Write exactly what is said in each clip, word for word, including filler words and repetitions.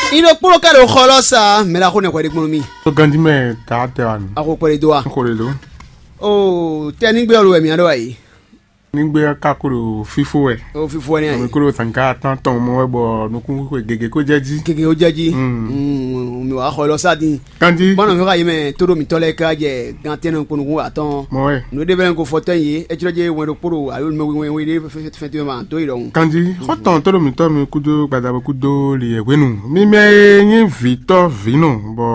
Iɖo kplɔ́ ka ɖo xɔ lɔ sa mɛ ɖaxó nɛ hwɛɖé kplɔ́n mì. Tó ganjí mɛ ta tɛ wa nù. Axo kpɛɖé dó wa. Xo ɖe ɖo. O tɛ nígbé ɔ́ lo wɛ mǐ ɖɔ wɛ yìí. Nígbé ɔ́ ka ko ɖo fífó wɛ. O fífó wɛ ní Mɛ ayi. Ko ɖo zǎnká tán tɔn mɔ wɛ bɔ nukún xwe gěgé kó jɛ jí. Gègé ó jẹ́ jí. Mm. Mm, mi wàá xɔ lɔ sá dín. Kanjí. Bọ́nà mi wá yé mɛ tó ɖo mǐtɔn lɛ ká jɛ gan tɛnɛ kponukun atɔn. Mɔ wɛ. Nǔ ɖé bɛlɛ ko fɔtɛn yé, é jlɔ́ jẹ́ wɛn ɖokpó ɖo alo mɛ wɛn wɛn ɖé fɛn tó ma dó yi ɖɔhun. Kanjí xɔtɔn tó ɖo mǐtɔn mi kúdó gbadabo kúdó li yɛ hwenu. Mi mɛ e nyí vǐtɔ́ vǐnɔ bɔ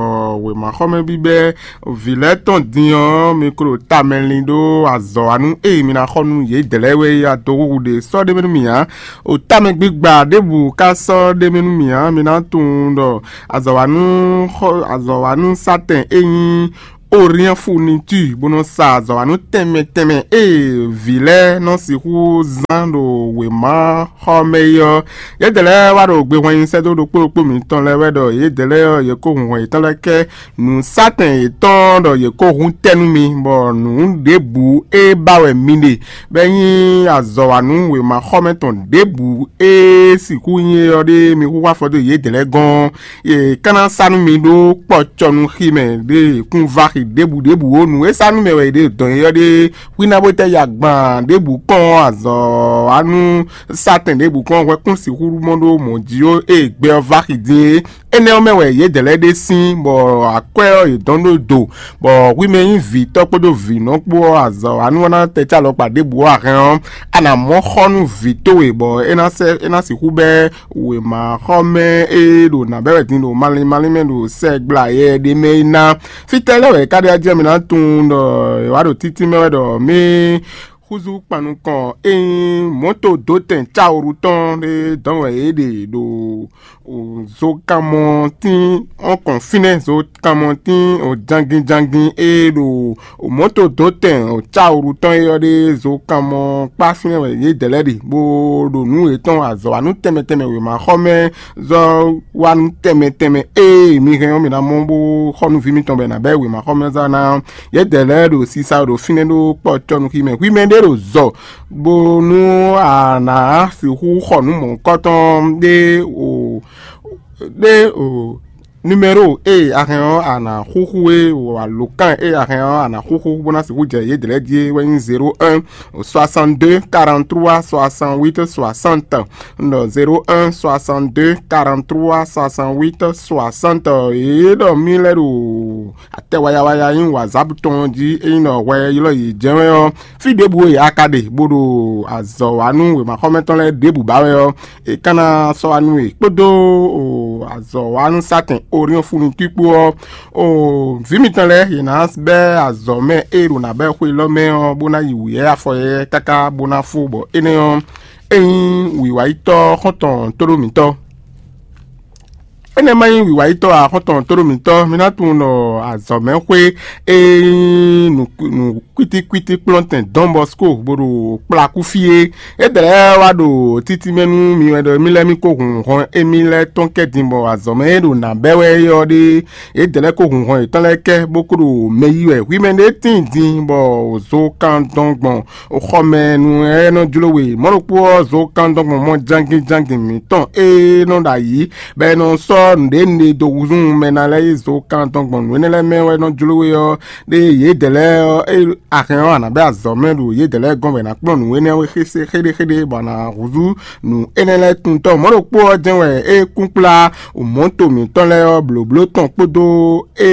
wěmaxɔmɛ bíbɛ́ vǐ lɛ́ɛ tɔn din ɔ́, mi klo tamɛ lin ɖó azɔ̌ wa nú ée mi ná xɔ nú yědɛɛ lɛ́ɛ wɛ yí adó xúxú ɖe sɔ́ ɖé mɛ nú mì ǎ. O tamɛ gbígba ɖěbǔ ka sɔ́ ɖé mɛ nú mì ǎ, mi ná tunwun ɖɔ azɔ̌ wa nú xɔ azɔ̌ wa nú sátɛn e nyí Oriɛ́nfunitúi bó nɔ́ sa azɔ̌wanú tɛnmɛ tɛnmɛ e vǐ lɛ́ɛ nɔ sixú zán ɖo wěma xɔ mɛ é ɔ́, yědɛɛ lɛ́ɛ wá ɖo gbehwannyi sɛ́ dó ɖokpó ɖokpó mǐtɔn lɛ́ɛ wɛ ɖɔ yědɛɛ lɛ́ɛ ɔ́, yě kó hun hɔn yětɔn lɛ́ɛ kɛ nǔsátɛn yětɔn ɖɔ yě kó hun tɛ́ nú mi, bɔ nǔ ɖěbǔ e ba wɛ mi ɖe, bɔ é nyí azɔ̌wanú wěma xɔ mɛ tɔn ɖěbǔ e sixú nyí é ɔ́ ɖe mi xúxú afɔ dó yědɛɛ lɛ́ɛ gɔ́n ɔ́. Yě ka ná sa nú mi ɖó kpɔcɔnuxi mɛ ɖé kún vaxi ɖěbǔ ɖěbǔ ó. Nǔ e sa nú mɛ wɛ yě ɖe dɔn é ɔ́ ɖe hwíná bó tɛ́ ya gban ɖěbǔ kɔn azɔ̌ wa nú sátɛn ɖěbǔ kɔn hwɛ kún sixú mɔ ɖó mɔ̌ jí ó. Ée gbɛ ɔ́ vaxi din é, énɛ́ ɔ́ mɛ wɛ yědɛɛ lɛ́ɛ ɖe sín, bɔ akwɛ́ ɔ́ yě dɔn ɖó do, bɔ hwi mɛ nyí vǐtɔ́ kpódó vǐnɔ kpó ɔ́, azɔ̌ wa nú ɔ́ ná tɛ́ cá alɔkpa ɖěbǔ ó a hɛn ɔ́, a nǎ mɔ xɔ nú vǐ towe, bɔ é ná sɛ́ é ná sixú bɛ́ wěma xɔ mɛ e ɖo nǎ bɛ́ wɛ din ɖo malín malín mɛ ɖo sɛgbla yɛ ɖé mɛ é ná. Fítɛ́ lɛ́ɛ wɛ é ká ɖe ajɛ mi ná tunwun ɖɔ è wǎ ɖo títí mɛ wɛ ɖɔ mí húzú kpan nukɔn e nyí mɔ̌to dǒtɛn cáwuru tɔn ɖé dɔn wɛ é ɖe ɖo zokanmɔtín ɔ́ kɔn fínɛ́, zokanmɔtín jangin jangin e ɖo mɔ̌to dǒtɛn cáwuru tɔn é ɔ́ ɖe zokanmɔ kpá fínɛ́ wɛ yědɛɛ lɛ́ɛ ɖe, bó ɖo nǔ yětɔn azɔ̌wanú tɛnmɛ tɛnmɛ wěma xɔ mɛ zɔ́ wa nú tɛnmɛ tɛnmɛ e mi hɛn ɔ́ mi ná mɔ bó xɔ nú vǐ mitɔn bɔ è nǎ bɛ́ wěma xɔ mɛ zɔ́ ná yědɛɛ lɛ́ɛ ɖo sisa ɖo fínɛ́ ɖó kpɔ́ cɔ́nukí mɛ. Hwi mɛ ɖé ɖo zɔ bónú a nǎ sixú xɔ nǔ mɔ̌hunkɔtɔn ɖé o ɖé o numéro e a hɛn ɔ́ a nǎ xúxú é o alǒkan e a hɛn ɔ́ a nǎ xúxú bó ná sixú jɛ yědɛɛ lɛ́ɛ jí é wɛ nyí zéro un soixante-deux quarante-trois soixante-huit soixante. Un ɖɔ zéro un soixante-deux quarante-trois soixante-huit soixante. Yě ɖɔ mí lɛ́ ɖo atɛ wayawaya nyí wazap tɔn jí é nyí ɖɔ hwɛ ylɔ́ yě jɛ́n wɛ ɔ́, fí ɖěbǔ e a ka ɖe bó ɖo azɔ̌ wa nú wěmaxɔmɛtɔn lɛ́ɛ ɖěbǔ ba wɛ ɔ́, è ka ná sɔ́ wá nú we kpódó o azɔ̌ wa nú sátɛn Oriɔ́n fúnnu kpó ɔ́, o vǐ mitɔn lɛ́ɛ yě ná bɛ́ azɔ̌ mɛ e ɖo nǎ bɛ́ xwe lɔ mɛ ɔ́ bó ná yi wǔyɛ́ afɔ yɛ́yɛ́ káká bó ná fó bɔ énɛ́ ɔ́, é nyí wǐwayítɔ́ xɔ́ntɔn tóɖó mǐtɔn. Énɛ́ ma nyí wǐwayítɔ́ ǎ, xɔ́ntɔn tóɖó mǐtɔn, mi ná tunwun ɖɔ azɔ̌mɛxwé e nyí nǔ kwítíkwítí kplɔ́ntɛn Don Bosco bó ɖo kplakú fí é. É dlɛ̌ wá ɖo títí mɛ nú mi wɛ ɖɔ émí lɛ́ɛ mì ko hun hɔn émí lɛ́ɛ tɔn kɛ din bɔ azɔ̌mɛ e ɖo nǎ bɛ́ wɛ é ɔ́ ɖe, yě dlɛ̌ ko hun hɔn yětɔn lɛ́ɛ kɛ bó ko ɖo mɛ yí wɛ. Hwi mɛ ɖé tíin din bɔ zo kan dɔn gbɔn xɔmɛ nú ɛ nɔ jló we. Mɔ̌ ɖokpó ɔ́, zo kan dɔn gbɔn mɔ jangin jangin mǐtɔn e nɔ ɖo ayǐ bɔ è nɔ sɔ́ nǔɖé nǔɖé dó húzú mɛ ná lɛ́ɛ yi zo kan tɔn gbɔn nǔ énɛ́ lɛ́ɛ mɛ wɛ nɔ jló we ɔ́, ɖe yědɛɛ lɛ́ɛ ɔ́, é a hɛn ɔ́, a nǎ bɛ́ azɔ̌ mɛ ɖo yědɛɛ lɛ́ɛ gɔ́n bɔ è nǎ kplɔ́n nǔ énɛ́ xéɖéxéɖé bɔ a nǎ húzú nǔ énɛ́ lɛ́ɛ tuntɔ́. Mɔ̌ ɖokpó ɔ́ jɛ́n wɛ é kún kplá mɔ̌to mǐtɔn lɛ́ɛ ɔ́ blǒbló tɔn kpódó e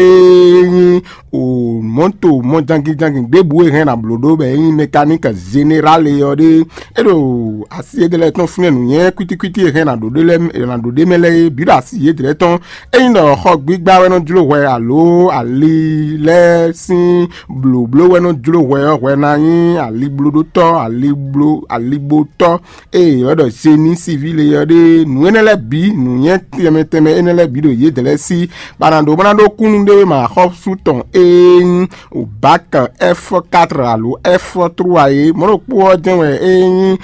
nyí o mɔ̌to mɔjangíjangí ɖěbǔ e hɛn ná bló ɖó bɔ é nyí mɛkaník zenerale ɔ́ ɖe. É ɖo asi yědɛɛ lɛ́ɛ tɔn fínɛ́ nǔnywɛ́ kwítíkwítí e hɛn ná ɖo ɖé lɛ́ɛ ná ɖo ɖ'é mɛ lɛ́ɛ é bǐ ɖo asi yědɛɛ lɛ́ɛ tɔn. Ényí ɖɔ xɔ gbígbá wɛ nɔ jló hwɛ alo ali lɛ́ɛ sín blǒbló wɛ nɔ jló hwɛ ɔ́, hwɛ ná nyí aliblóɖótɔ́, alibló aligbótɔ́, ée è wɛ ɖɔ zeni sivile ɔ́ ɖe. Nǔ énɛ́ lɛ́ɛ bǐ, nǔnywɛ́ tɛnmɛ tɛnmɛ énɛ́ lɛ́ɛ bǐ ɖo yědɛɛ lɛ́ɛ sí, bɔ a nǎ ɖó bó ná ɖó kúnnu ɖé wɛ mɛ axɔ́sú tɔn e nyí bak F quatre alo F trois é. Mɔ̌ ɖokpó ɔ́ jɛ́n wɛ é nyí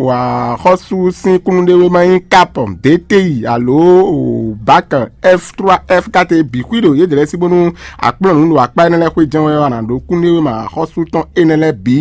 axɔ́sú sín kúnnu ɖé wɛ ma nyí kap D T I alo bak F trois F quatre bǐ xwí ɖo yědɛɛ lɛ́ɛ sí bónú a kplɔ́n nǔ ɖo akpá énɛ́ lɛ́ɛ xwé jɛ́n wɛ ɔ́, a nǎ ɖó kúnnu ɖé wɛ mɛ axɔ́sú tɔn énɛ́ lɛ́ɛ bǐ.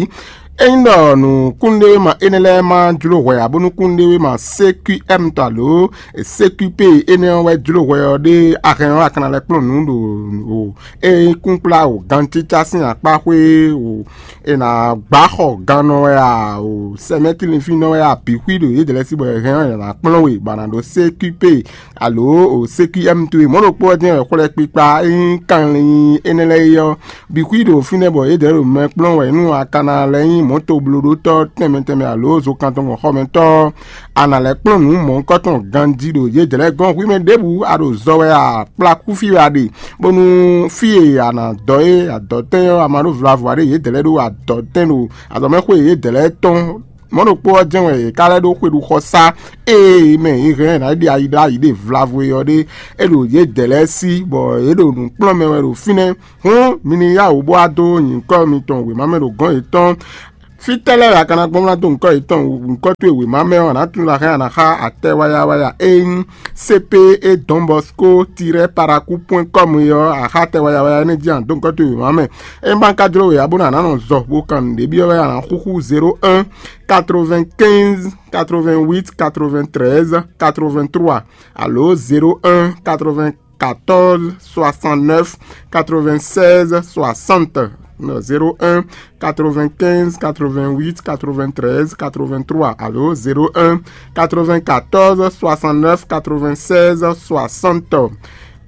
Ényí ɖɔ nǔkúnɖéwéma énɛ́ lɛ́ɛ ma jló hwɛ ǎ, bónú kúnɖéwéma C Q M tɔ alo C Q P énɛ́ ɔ́ wɛ jló hwɛ ɔ́ ɖé, a hɛn ɔ́, a ka ná lɛ́ kplɔ́n nǔ ɖo e kúnkplá o gancícá sín akpá xwé o, è nǎ gbá xɔ gannɔ wɛ a o sɛmɛ́tlínfínnɔ wɛ a bǐ xwí ɖo yědɛɛ lɛ́ɛ sí bɔ è hɛn ɔ́, è nǎ kplɔ́n we bɔ a nǎ ɖó C Q P alo o C Q M towe. Mɔ̌ ɖokpó ɔ́ jɛ́n wɛ xwlɛ́kpikpa e nyí kanlin énɛ́ lɛ́ɛ é ɔ́, bǐ xwí ɖo fínɛ́ bɔ yědɛɛ ɖo mɛ kplɔ́n wɛ nú a ka ná lɛ́ nyí mɔ̌toblóɖótɔ́ tɛnmɛ tɛnmɛ alo zokantɔngɔn xɔmɛtɔ́ ɔ́, a nǎ lɛ́ kplɔ́n nǔ mɔ̌hunkɔtɔn ganjí ɖo yědɛɛ lɛ́ɛ gɔ́n. Hwi mɛ ɖěbǔ a ɖo zɔ wɛ a kplá kúfí wɛ a ɖe, bónú fí e a nǎ dɔ é adɔ̌tɛn ɔ́, a ma ɖó vlavo ǎ ɖe, yědɛɛ lɛ́ɛ ɖó adɔ̌tɛn ɖo azɔ̌mɛxwé yědɛɛ lɛ́ɛ tɔn. Mɔ̌ ɖokpó ɔ́ jɛ́n wɛ è ka lɛ́ ɖó xwe ɖu xɔ sá ée mɛ è hɛn ná ɖe ayi ɖó ayi ɖe vlavo e ɔ́ ɖe, é ɖo yědɛɛ lɛ́ɛ sí, bɔ yě ɖo nǔ kplɔ́n mɛ wɛ ɖo fínɛ́. Hǔn mi ní yá wǔ bó wá dó nyǐkɔ mitɔn wěma mɛ ɖo gɔ̌n yětɔn. Fítɛ́ lɛ́ɛ wɛ a ka ná gbɔn ná dó nyǐkɔ yětɔn nyǐkɔ towe wěma mɛ ɔ́, a nǎ tunwun ɖɔ a hɛn a nǎ xá atɛ wáyáwáyá e nyí C P E Don Bosco tirɛ paraku point com é ɔ́, a xá atɛ wáyáwáyá énɛ́ jí a nǎ dó nyǐkɔ towe wěma mɛ. Ényí ma ka jló we ǎ bó ná a nǎ nɔ zɔ bó kan nǔɖé byɔ́ wɛ, a nǎ xúxú zéro un quatre-vingt-quinze quatre-vingt-huit quatre-vingt-treize quatre-vingt-trois alo zéro un quatre-vingt-quatorze soixante-neuf quatre-vingt-seize soixante. Non, zéro un quatre-vingt-quinze quatre-vingt-huit quatre-vingt-treize quatre-vingt-trois alo zéro un quatre-vingt-quatorze soixante-neuf quatre-vingt-seize soixante.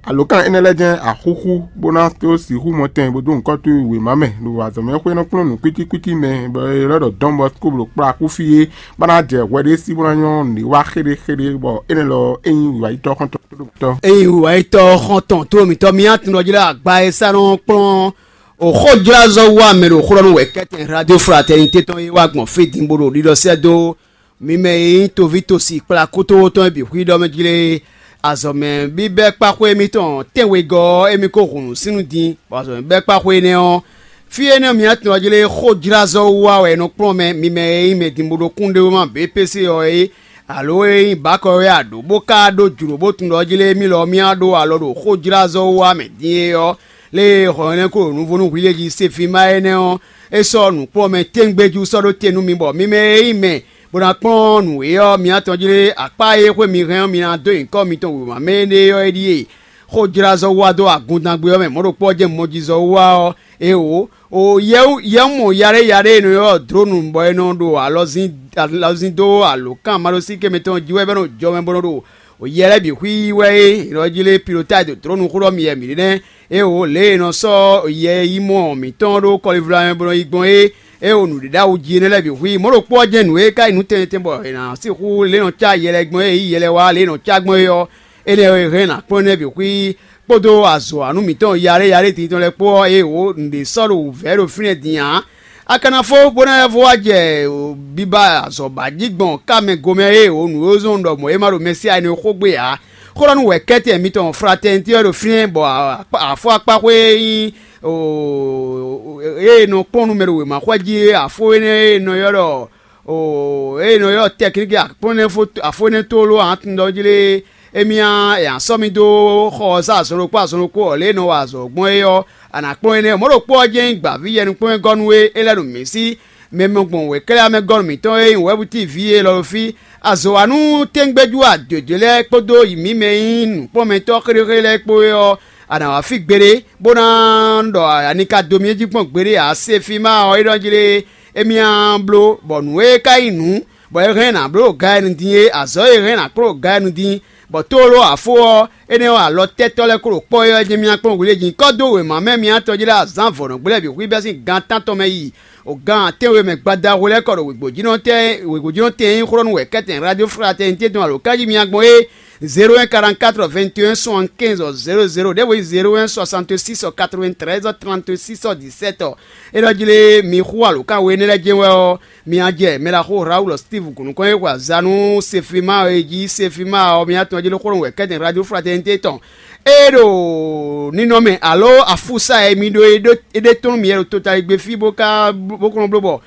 Alǒkan énɛ́ lɛ́ɛ jɛ́n axúxú bó ná tó sixú mɔ tɛn bó dó nyǐkɔ towe wěma mɛ ɖo azɔ̌mɛxwé nɔ kplɔ́n nǔ kwítíkwítí mɛ, bɔ è lɛ́ ɖɔ Don Bosco ɖo kplá kú fí é, bó ná jɛ hwɛ ɖé sí bó ná nyɔ́ nǔɖé wá xéɖéxéɖé, bɔ énɛ́ lɔ é nyí wǐwáyítɔ́ xɔ́ntɔn tóɖómítɔ́. Ényí wǐwáyítɔ́ xɔ́ntɔn tóɖómítɔ́ mi atún ɖɔ jí ɖo agba e sá nɔ kplɔ́n o xójlázɔ́ wú amɛ ɖo xó ɖɔ nú wɛ̌kɛ́tɛn Radio Fraternité tɔn e wá gbɔn fí din bó ɖo ɖiɖɔ sɛ́ dó mi mɛ e nyí toví tosi kplá kútówó tɔn e bǐ xwí ɖɔ mɛ jí lé. Azɔ̌mɛ bíbɛ́ kpáxwé émítɔn tɛ́nwegɔ́ ɔ́, émí ko hun nǔ sín nú din, bɔ azɔ̌mɛ bɛ́ kpáxwé énɛ́ ɔ́, fí énɛ́ ɔ́, mi atún ɔ́ jlé xójlázɔ́ wú wá wɛ è nɔ kplɔ́n mɛ, mi mɛ e nyí mɛdinbodokúnɖéwéma B P C ɔ́ é, alo e nyí bǎkɔ wɛ a ɖǒ bó ka ɖó jlǒ bó tunwun ɖɔ jí lé émí lɔ mì wá ɖó alɔ ɖo xójlázɔ́ wú wá mɛ din é ɔ́, lě e hɔn énɛ́ ko ɖo nuvo nú hwi lě jí Sefima énɛ́ ɔ́, é sɔ́ nǔkplɔ́nmɛ tɛ́ngbéjú sɔ́ ɖó te nú mi bɔ mi mɛ e nyí mɛ bó ná kplɔ́n nǔ é ɔ́, mi atɔn jlé akpá e xwé mi hɛn ɔ́, mi ná dó nyǐkɔ mitɔn wěma mɛ énɛ́ ɔ́ é ɖíe. Xójlázɔ́ wá dó agundangbe ɔ́ mɛ mɔ̌ ɖokpó ɔ́ jɛ́n mɔjizɔ wú wá ɔ́, é wǒ. O yɛ́wú yɛ́wúmɔ yaɖé yaɖé e nɔ ylɔ́ Dlǒnu bɔ è nɔ ɖo alɔzín alɔzín dó alǒkan maɖósíké mɛtɔn jí wɛ bɔ é nɔ jɔ mɛ bó nɔ ɖo o yɛ lɛ́ɛ bǐ xwí wɛ é. È nɔ jí lé pilotáyi ɖo Dlǒnu xó ɖɔ mi wɛ mǐ ɖe nɛ́. É o lě e è nɔ sɔ́ yɛ yi mɔ mǐtɔn ɖó kɔlivla mɛ bó nɔ yi gbɔn é, é o nǔɖiɖáwú jí énɛ́ lɛ́ɛ bǐ xwí. Mɔ̌ ɖokpó ɔ́ jɛ́n nǔ e ka nyí nǔ tɛnmɛ tɛnmɛ bɔ è nǎ sixú lě e nɔ cá yɛ lɛ́ɛ gbɔn é, yí yɛ lɛ́ɛ wá lě e nɔ cá gbɔn é ɔ́, énɛ́ e hɛn nǎ kplɔ́n énɛ́ bǐ xwí kpódó azɔ̌wanú mǐtɔn yaɖé yaɖé din tɔn lɛ́ɛ kpó ɔ́, é wǒ nǔɖé sɔ́ ɖo wǔvɛ́ ɖo fínɛ́ din ǎ. A ka ná fó bó ná vɔ wá jɛ biba azɔ̌ ba jí gbɔn ká mɛ gomɛ é wǒ nǔ e zɔ́n ɖɔ mɔ̌ e ma ɖo Mɛsíya énɛ́ xó gbe ǎ. Xó ɖɔ nú wɛ̌kɛ́tɛn mitɔn Fratɛnití ɔ́ ɖo fínɛ́ bɔ afó akpáxwé e nyí e nɔ kplɔ́n nú mɛ ɖo wěmaxwɛ jí é, afó énɛ́ e nɔ ylɔ́ ɖɔ o ée nɔ ylɔ́ tɛkníki afó énɛ́ tlóló atundɔ jí lé, émí ɔ́, è nǎ sɔ́ mì dó xɔ ɔ́ sá azɔn ɖokpó azɔn ɖokpó ɔ́ lě e nɔ wa azɔ̌ gbɔn é ɔ́, a nǎ kplɔ́n énɛ́. Mɔ̌ ɖokpó ɔ́ jɛ́n nyí gbǎví yɛnukpɔ́nwɛngɔ́ nú we, é lɛ́ ɖo mǐ sí. Mɛ mɔ gbɔn wěkɛ́lɛ́ mɛ gɔ́ nú mǐtɔn e nyí wɛ̌bú tíi ví élɔ́ ɖo fí. Azɔ̌wanú téŋgbéjú adǒjó lɛ́ɛ kpódó mǐ mɛ e nyí nǔkplɔ́nmɛtɔ́ xéɖéxéɖé lɛ́ɛ kpó é ɔ́, a nǎ wá fí gbeɖé, bó ná ɖɔ a ní ka dó mì jí gbɔn gbeɖé ǎ. Sefima ɔ́, é ɖɔ jí lé, émí á bló, bɔ nǔ e ka nyí nǔ, bɔ è hɛn ná bló ɖo Galenu dín é, azɔ̌ e è hɛn ná kplɔ́n ɖo Galenu dín, bɔ tlóló afó ɔ́, énɛ́ ɔ́, alɔ tɛ́tɔ́ lɛ́ɛ kó ɖo kpɔ́ é ɔ́ jɛ́n mì ná kplɔ́n hwi lě jí. Kɔ́ dó wěma mɛ mì atɔn jí lɛ́ɛ azǎn vɔ̌nɔgbé lɛ́ɛ bǐ xwí bɛ́ sín gan tántɔn mɛ yi o gan atɛ́nwe mɛ gbada hwe lɛ́ɛ kɔ ɖo wěgbojínɔ tɛn wěgbojínɔ tɛn e nyí xó ɖɔ nú wɛ̌kɛ́tɛn Radio Fraternité tɔn alo kájímya gbɔn é. Zéro un quarante-quatre vingt et un soixante-quinze zéro zéro ɖěvo nyí zéro un soixante-six quatre-vingt-treize trente-six dix-sept. É ɖɔ jí lé mi xú alǒkan we énɛ́ lɛ́ɛ jɛ́n wɛ ɔ́, mi ná jɛ mɛ ɖaxó Raoul Steve gǔnukɔn e xwe azǎn nú Sefima e jí Sefima ɔ́, mi ná tunwun jí lé xó ɖɔ wɛ̌kɛ́tɛn Radio Fraternité tɔn. É ɖo ninɔmɛ alo afúsá e mi ɖó é ɖó é ɖe tɔn nú mi wɛ ɖo totaligbé fí bó ka bó kɔn bló bɔ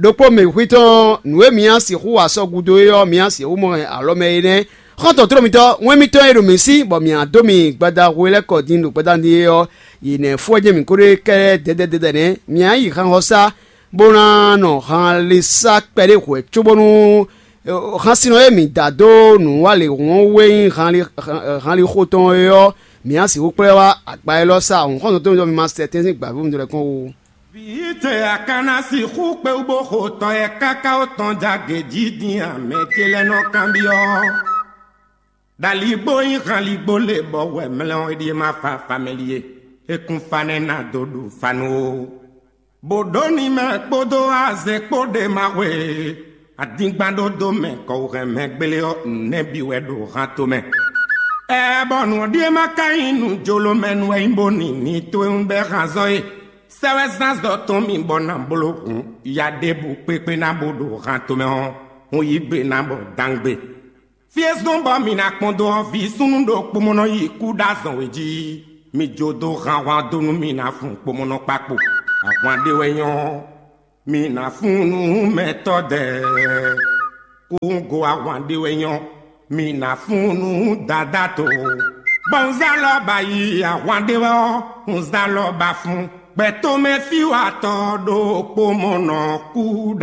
ɖokpó mɛ xwí tɔn nǔ e mi ná sixú wa sɔ́ gúdo é ɔ́, mi ná sixú mɔ alɔ mɛ é nɛ́. Xɔ́ntɔn tló mitɔn, wɛn mitɔn e ɖo mǐ sí, bɔ mǐ ná dó mi gbada hwe lɛ́ɛ kɔ din ɖo gbada din é ɔ́, yě nɛ́ fú ɔ́ jɛ́n mǐ ko ɖe kɛ́ɖɛ́ dɛdɛdɛdɛ nɛ́. Mǐ ná yi xanxɔsá bó ná nɔ hanlisa kpɛɖé hwɛ̌ cóbónú hansinɔ e mǐ da dó nǔwanlehǔn ɔ́ wé nyí hanlixo tɔn é ɔ́, mǐ ná sixú kplɔ́ wá agba élɔ́ sá. Hǔn xɔ́ntɔn tó nyí ɖɔ mi ma sɛ tɛ́ntin gbǎví mǐtɔn lɛ́ɛ kɔn ó. Vǐ ce a ka ná sixú kpé wú bó xo tɔ e káká ó tɔn jagě jí din a? Mɛ ce lɛ́ɛ nɔ kanbyɔ́. Ɖaligbó nyí hanligbó lě bɔ wɛ mlɛ́ ɔ́ é ɖíe ma fa famɛli e. É kún fa nɛ́ ná dó ɖu fa nú ó. Bǒ ɖó ni mɛ kpódó azɛ kpó ɖe ma hwe. Adingban ɖó dó mɛ kɔwuhɛn mɛ gbélé ɔ́, nɛ́ bǐ wɛ ɖo han tomɛ. Ɛɛ, bɔ nǔ ɔ́ ɖíe ma ka nyí nǔ jló mɛ nú wɛ nyí bó ni ní towe un bɛ́ han zɔ́ é. Sɛ́ wɛ zán zɔ tɔn mì bɔ ná bló hǔn ya ɖěbǔ kpékpé ná bó ɖo han tomɛ ɔ́, hun yí gbe ná bɔ dangbe. Fí e zɔ́n bɔ mǐ ná kpɔ́n dó ɔ́, vǐ súnnu ɖokpó mɔ nɔ yi kú ɖó azɔn wě jí. Mi jó dó han ahwan dó nú mì ná fun kpomɔnɔ kpakpo. Ahwan ɖé wɛ nyɔ́, mi ná fun nú mɛtɔ́ dɛɛ. Kúngo ahwan ɖé wɛ nyɔ́, mi ná fun nú dadá to. Bɔ un zá lɔ ba yi ahwan ɖé wɛ ɔ́, un zá lɔ ba fun. Gbɛtɔ́ mɛ fí wa tɔ ɖokpó mɔ nɔ kú ɖa.